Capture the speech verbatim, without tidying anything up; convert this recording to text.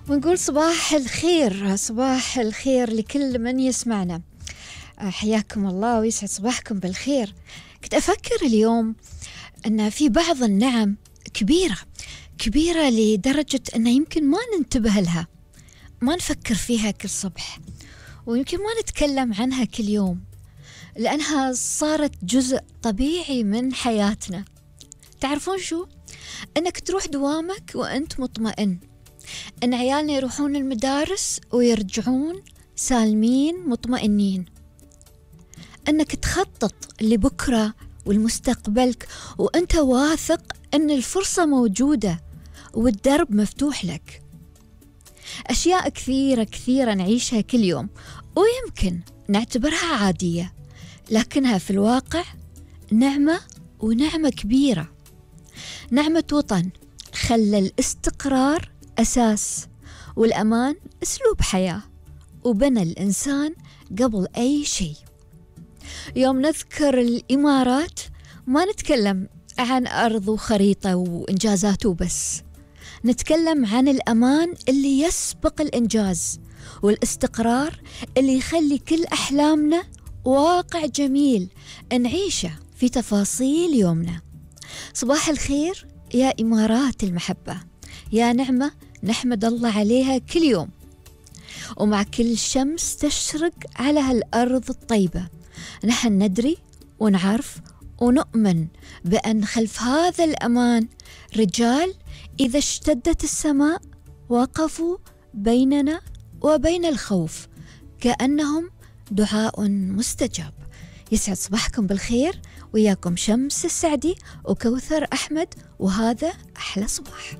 ونقول صباح الخير، صباح الخير لكل من يسمعنا. حياكم الله ويسعد صباحكم بالخير. كنت أفكر اليوم أن في بعض النعم كبيرة كبيرة لدرجة أن يمكن ما ننتبه لها، ما نفكر فيها كل صبح، ويمكن ما نتكلم عنها كل يوم، لأنها صارت جزء طبيعي من حياتنا. تعرفون شو؟ أنك تروح دوامك وأنت مطمئن، أن عيالنا يروحون المدارس ويرجعون سالمين مطمئنين، أنك تخطط لبكرة والمستقبلك وأنت واثق أن الفرصة موجودة والدرب مفتوح لك. أشياء كثيرة كثيرة نعيشها كل يوم ويمكن نعتبرها عادية، لكنها في الواقع نعمة، ونعمة كبيرة. نعمة وطن خلى الاستقرار أساس، والأمان أسلوب حياة، وبنى الإنسان قبل أي شيء. يوم نذكر الإمارات ما نتكلم عن أرض وخريطة وإنجازات وبس، نتكلم عن الأمان اللي يسبق الإنجاز، والاستقرار اللي يخلي كل أحلامنا واقع جميل نعيشه في تفاصيل يومنا. صباح الخير يا إمارات المحبة، يا نعمة نحمد الله عليها كل يوم. ومع كل شمس تشرق على هالأرض الطيبة، نحن ندري ونعرف ونؤمن بأن خلف هذا الأمان رجال إذا اشتدت السماء وقفوا بيننا وبين الخوف كأنهم دعاء مستجاب. يسعد صباحكم بالخير، وياكم شمس السعدي وكوثر أحمد، وهذا أحلى صباح.